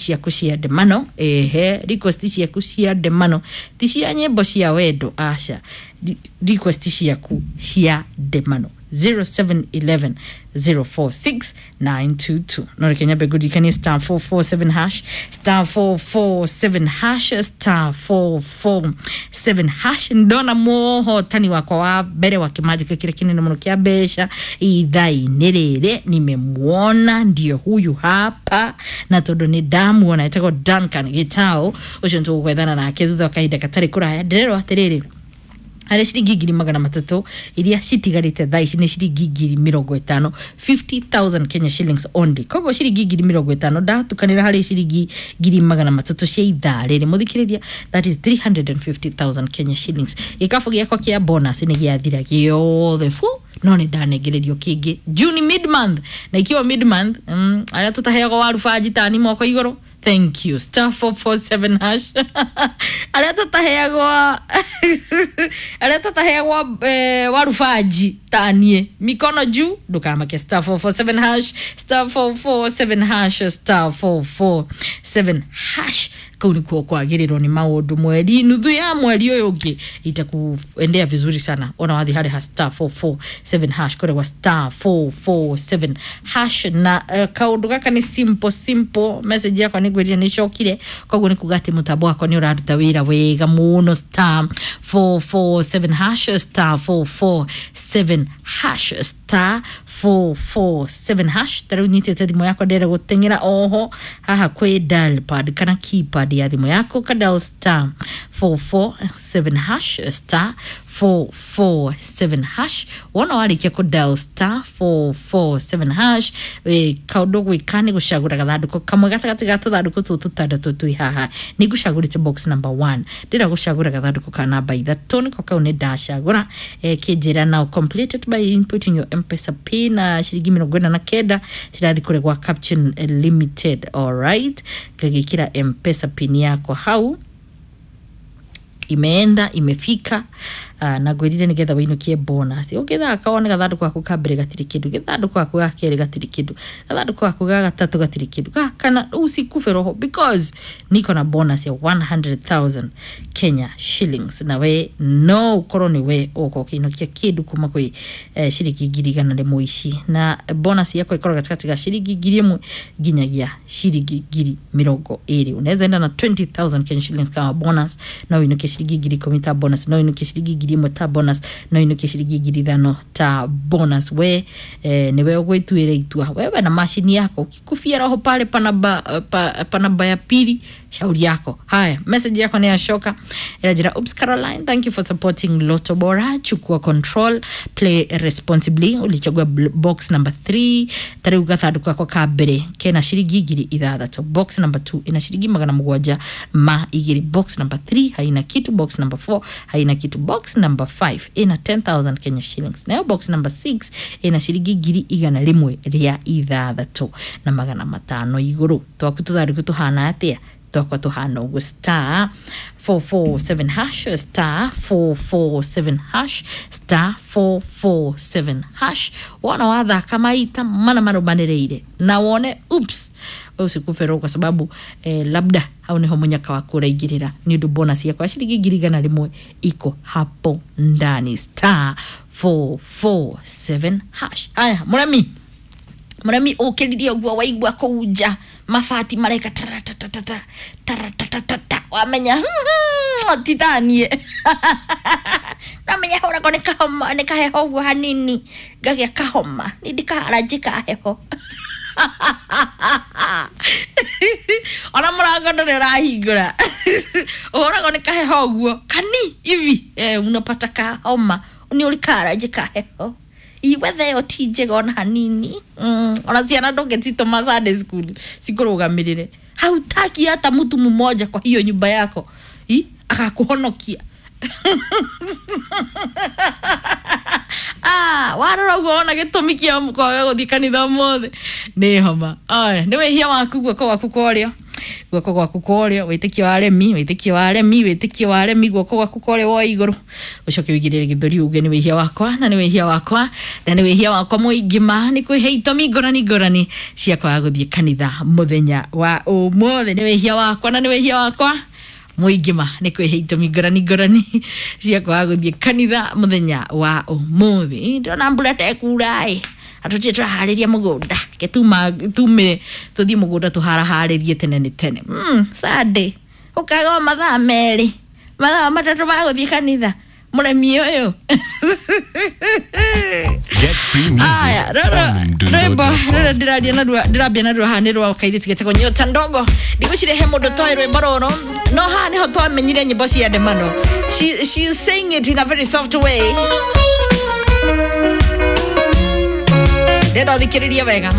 Ciaku cia ndemano, ehe, request ciaku cia ndemano, ti cia nyĩmbo cia wendo, aca. Request ciaku cia ndemano 0711 046 922. No reke nyambe ngũririkanie star 447 hash, star 447 hash, star 447 hash. Ndona mũhotani wakwa wa mbere wa kĩmanjĩka kĩrĩa kĩnene mũno kĩa mbeca ithaa-inĩ rĩrĩ, nimemwona, ndio huyu hapa, na tondũ nĩ ndamuona etagwo Duncan Gitau, ũcio nĩtũgũkwethana nake thutha wa kahinda gatarĩ kũraya. Ndĩrerwo atĩrĩrĩ, harä ciringi 300,000 iria citigarĩte thaa ici nĩ ciringi 50,000, 50,000 Kenya shillings only. Koguo ciringi 50,000 ndatukanĩra harĩ ciringi 300,000 cia ithaa rĩrĩ, mũthikĩrĩria, that is 350,000 Kenya shillings. Gĩkabũ gĩakwa kĩa bonus nĩ gĩathira gĩothe fu, no nĩ ndanengererio kĩngĩ June mid month, na ikiwa mid month, arĩa tũtaheagwo warubanji tani moko igũrũ. Thank you. Star 447 hash. Arĩa tũtaheagwo, arĩa tũtaheagwo warubanji tanie mikono juu, ndũkamake. Star 447 hash, star 447 hash, star 447 hash. Kau nikuo kwagĩrĩrwo nĩ maũndũ mweri nuthu ya mweri ũyũ ũngĩ itakuendea vizuri sana. Ona wathi harĩ ha star 447 hash, kũregwa star 447 hash. Na kaũndũ gaka nĩ simple simple. Message yakwa nĩ ngwĩrire nĩ cokire, koguo nĩ kuga atĩ mũtambo wakwa nĩ ũraruta wĩra wega mũno. Star 447 hash, star 447 hash, star 447 hash. Ta rĩu nyitĩte thimũ yakwa, ndĩrenda gũteng'era oho haha kwĩ dial pad kana keypad ya thimũ yaku, ka dial star 447 hash, star 447 hash. Wona warĩkia kũ dial star 447 hash, kaũndũ gwĩka nĩ gũcagũra gathandũkũ kamwe gatagatĩ ga tũthandũkũ tũtũ tũtandatũ twĩ haha. Nĩ ngũcagũrĩte box number 1, ndĩrenda gũcagũra gathandũkũ ka namba ithatũ, nĩko kau nĩ ndacagũra. Kĩnjĩra now completed by inputting your M-Pesa pin, na ciringi 49 cirathiĩ kũrĩ gwa Caption Limited. Alright, ngagĩkĩra M-Pesa pin yakwa hau, imeenda imefika. Na ngwĩrire nĩgetha wĩinũkie bonus ũngĩthaka wone gathandũkũ gaku ka mbere gatirĩ kĩndũ, gathandũkũ gaku ga kerĩ gatirĩ kĩndũ, gathandũkũ gaku ga gatatũ gatirĩ kĩndũ, ga kana usikufe roho, because niko na bonus ya 100,000 Kenya shillings, na we no ũkorwo nĩ we ũgũkorwo ũkĩinũkia kĩndũ kuma kwĩ ciringi 100,000 ici. Na bonus yakwa ĩkorwo gatagatĩ ga ciringi 1,000 nginyagia ciringi 20,000. Unaweza enda na 20,000 Kenya shillings kama bonus, no ũinũkie ciringi 10,000 ta bonus, no ũinũkie ciringi 1,000 ta bonus, no ũinũkie ciringi 5,000 ta bonus. We nĩwe ũgwĩtuĩra itua wewe na mashini yako, ukikufia roho pale panaba, panaba ya pili, shauri yako. Haya, message yako ni yashoka, inajira oops Caroline, thank you for supporting Lotto Bora, chukua control, play responsibly. Ulichagua box number 3, tariu gathandũkũ gakwa ka mbere kena ciringi 6,000, box number 2 ina ciringi 702, box number 3 haina kitu, box number 4 haina kitu, box number 5 ina 10,000 Kenya shillings, nayo box number 6 ina ciringi 106,500 igũrũ. Twaku tũthandũkũ tũhana atĩa? Twakwa tũhana ũguo. Star 447 hash, star 447 hash, star 447 hash. Wona wathaka maita mana marũmanĩrĩire na wone oops, we usikufe roho, kwa sababu labda hau niho munyaka waku ũraingĩrĩra, nĩ ũndũ bonus yakwa ya ciringi 100,000 iko hapo ndani. Star 447 hash. Haya, mũremi, mũremi ũkĩririe ũguo waigua kũu nja mabati mareka taratatata taratatata, wamenya titanie namenya hũragwo nĩ kahoma, nĩ kaheho ũguo hanini, ngagĩa kahoma, nĩ ndikaharanjĩ ka heho, ona mũrango ndũrĩ ũrahingũra, ũhũragwo nĩ kaheho ũguo kani hivi, unapata kahoma, nĩ ũrĩ kaharanjĩ ka heho. Iwetha ĩyo ti njega ona hanini. Ona ciana ndũngĩcitũma Sunday school cikũrũgamĩrĩre, hautaki hata mtu mmoja kwa hiyo nyumba yako I? Akakuhonokia. Ah, warora ũguo wona gĩtũmi kĩa kwaga gũthiĩ kanitha ũmũthĩ nĩ homa. Aya, nĩ wĩhia waku, guoko gwaku kwa ũrĩo. Guoko gwaku kwa ũrĩo, wĩtĩkio wa aremi, wĩtĩkio wa aremi, wĩtĩkio wa aremi, guoko gwaku kwa ũrĩo woe igũrũ, ũcoke ũigĩrĩre gĩthũri uge nĩ wĩhia wakwa na nĩ wĩhia wakwa na nĩ wĩhia wakwa mũingĩ ma nĩ kwĩhe itũmi ngũrani ngũrani cia kwaga gũthiĩ kanitha mũthenya wa ũmũthĩ. Nĩ wĩhia wakwa na nĩ wĩhia wakwa mũingĩ ma nĩ kwĩhe itũmi ngũrani ngũrani cia kwaga gũthiĩ kanitha mũthenya wa ũmũthĩ. Ndĩrona mbura tekura ĩ, atũtirĩ tũraharĩria mũgũnda, ke tume tũthiĩ mũgũnda tũharaharĩrie tene nĩ tene. Sunday ũkaga o mathaa 2, mathaa 3 ma gũthiĩ kanitha, mũremi ũyũ. Get free music Aya, rũrũ on rwĩmbo Mdundo.com. rũrũ ndĩraria naruo, ndĩrambia naruo haha nĩ rwa kairĩtu getagwo Nyota Ndogo. Ndigũcirehe mũndũ toĩ rwĩmbo rũrũ, no haha nĩho twamenyire nyĩmbo cia ndemano. She's saying it in a very soft way. Ndĩrenda ũthikĩrĩrie wega.